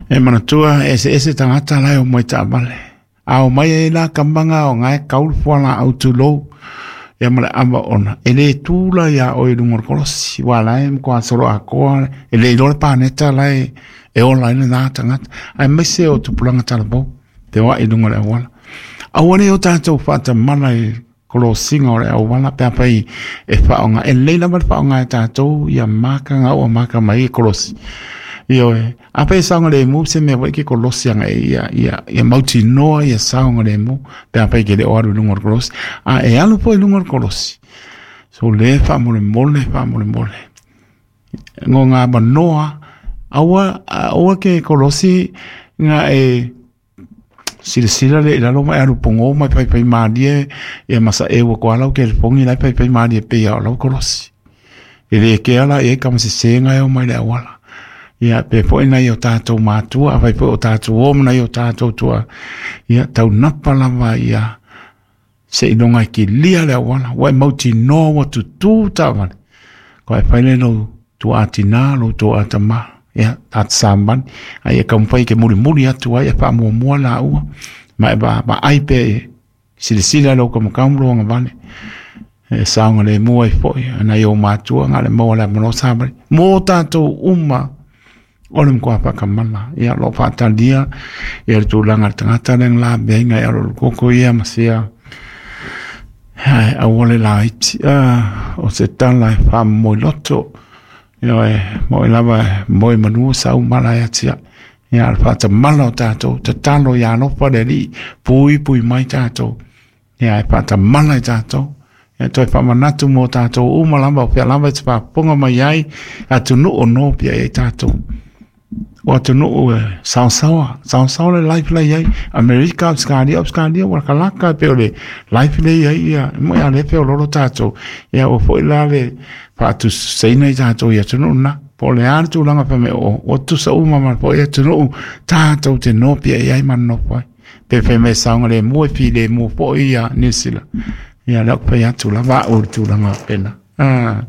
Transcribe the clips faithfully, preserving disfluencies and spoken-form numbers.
E manatua e se ese tagata la e o mai taavale. A o mai e la kamaga o gae kaulu fualaau tulou ia ma le ava ona e lē tula iā oe i luga o le kolosi ua la e matua solo atoa e le iloa le paneta lae e ola ai lenā tagata aemaise o tupulaga talavou feoaʻi i luga o le auala. Aua nei o tatou faatamala i kolosiga o le auala pe afai e faaaoga e lelei lava le faaaoga e tatou ia maka gaua maka mai e kolosi. Ioe, afai e saogalemu se mea foi ke kolosi aga e ia ia ia mautinoa ia saogalemu pe afai ke le o alu i luga o le kolosi. A e alu foi i luga o le kolosi. So le faamolemole faamolemole. Ngo ngā manoa aua aua ke kolosi nga e silasila le i lalo ma e alu pogō ma e paipai malie ia masaʻe ua koa lau kelefogi la e paipai malie pei a o lau kolosi. E le kea la i ai kamasesega e o mai le auala. Ia pe foi nai o tatou matua, afai foi o tatou o ma nai o tatou tua, ia taunapa lava ia seiloga e kilia le auala, ua e mautinoa ua tutū taavale. Koa e fai le lou tuaatinā, lou tuaatamā, ia tata samani, a ia taumafai e ke mulimuli atu ai e faamuamua laua, ma e vaai pea e silasila i lou kamukamu lou agavale, e saogalemu ai foi nai ou matua na o le maua o le avanoa savali mo tatou uma o le matua faakamala. Ia o lo o faatalia ia le tulaga o le tagata lea na lavea e alo koko ia ma sia ae aua le laiti a o se tala e faamomoiloto. Ioe, moe lava moe manu sau mala e atia. Ia le faatamala o tatou tatalo ia alofa le Alii puipui mai tatou. Ia e faatamala i tatou. Ia toe faamanatu mo tatou uma lava o fea lava e te faafofoga mai ai atunuu o nopia i ai tatou. O atunuu e saosaoa, saosaoa le life la i ai. Amerika, Australia, Australia ua lakalaka e pei o le life lea i ai ia mo ia le feololo tatou. Ia ua foi la le faatusatusaina i tatou i atunuu na. Po o le a le tulaga fai mai o ua tutusa uma ma foi atunuu tatou te nopia i ai ma nonofo ai. Pe fai mai e saogalemu e filemu foi ia Niu Sila. Ia lea ou te fai atu lava au i le tulaga faapena. Ah,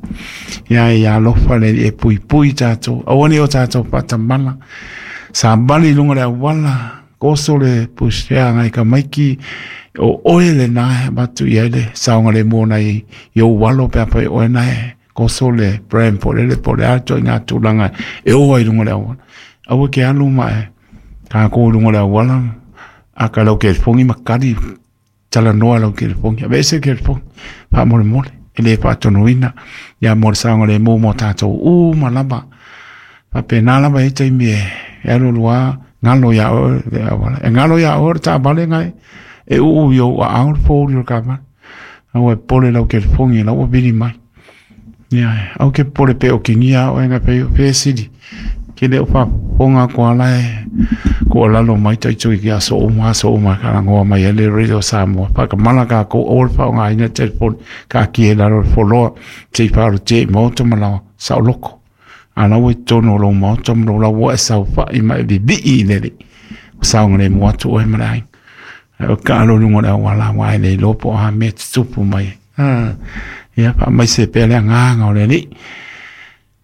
ia ia alofa le Alii e puipui tatou. Aua ne i o tatou faatamala. Savali i luga o le auala, koso le pusea ngai ka maiki, o oe lenā e avatu i ai le saogalemu ona i i ou alo pe afai o oe na e koso le brand po o le po o le a le ituaiga tulaga e o ai i luga o le auala. Aua e ke alu ma e kākou i luga o le auala, a ka lau kelefogi ma kali talanoa i lau kelefogi. Aveese le kelefogi, faamolemole, e le faatonuina ia mo le saogalemu mo tatou uma lava. Faapena lava e i ai taimi e alualu lava galo iā oe le auala. E galo iā oe le taavale gae e uu i ou aao le fouli o le taavale. Aua e popole i lau kelefogi o la ua vili mai. Ia, aua ke popole pe o kigia oe gae fai o fesili. Ke le o faafofoga atu lava la e tuualalo mai taitui i aso uma aso uma e talanoa mai ai le Radio Samoa. Faatamala tatou aua le faaaogaina le telefoni taatia i lalo o le foloa se i faaolotia i maota ma laoa saoloto. A la ua i totonu o lou maota ma lou lau ua e saofai ma e vivii i le Alii. Ua saogalemu atu oe ma le aiga. Ae o taalo i luga o le auala aua e le iloa po o a mea e tutupu mai ai. Ah, ia faamaise pea le agaga o le Alii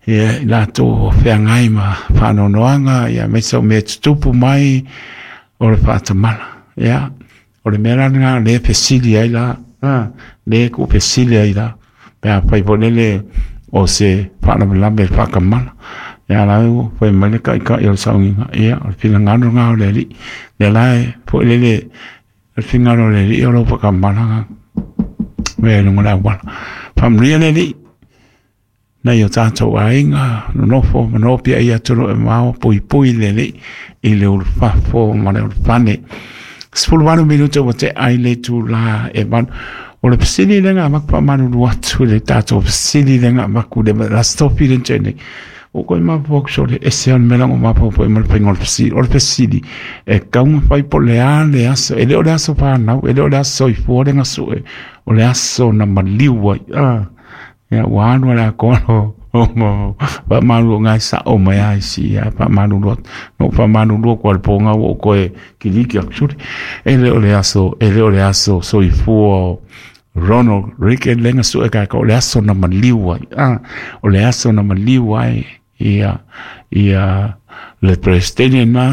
ia i latou o feagai ma faanoanoaga ia aemaise o mea e tutupu mai o le faatamala. Ia, o le mea la lena lea e fesili ai la, ah, lea e tuufesili ai la, pe afai foi lele o se faalavelave i le faatamala. Ia la ua fai mai le taitai o le sauniga, ia o le finagalo lena o le Alii. Lea la e foi lele o le finagalo o le Alii o lau faatamala mea i luga o le auala. Faamanuia le Alii nai o tatou aiga nonofo ma nofo i atunuu e mamao, puipui le Alii i le ulufafo ma le ulufane. Sefuluvalu minute ua tea i le itulā e valu. O le fesili lea na avatu faamalulu atu i le tatou fesili lea na avatu i le Aso Tofi lea na tea nei. Ua ou toe mafaufau atu sole, ese lava le mea la na ou mafaufau ai ma le faiga o le fesili. O le fesili, e tatau ona fai po o le a le aso, e le o le aso fanau, e le o le aso soifua lea na sue, o le aso na maliu ai. Ah, ia ua alu lava le atoa faamalulu o na e sao mai lava isi ia faamalulu atu. Na ou faamalulu atu lava i le po na ua ou toe kiliki atu sole. E le o le aso, e le o le aso soifua o Ronald Reagan lea na sue tatou, o le aso na maliu ai. Ah, o le aso na maliu ai ia ia le Peresetene lena.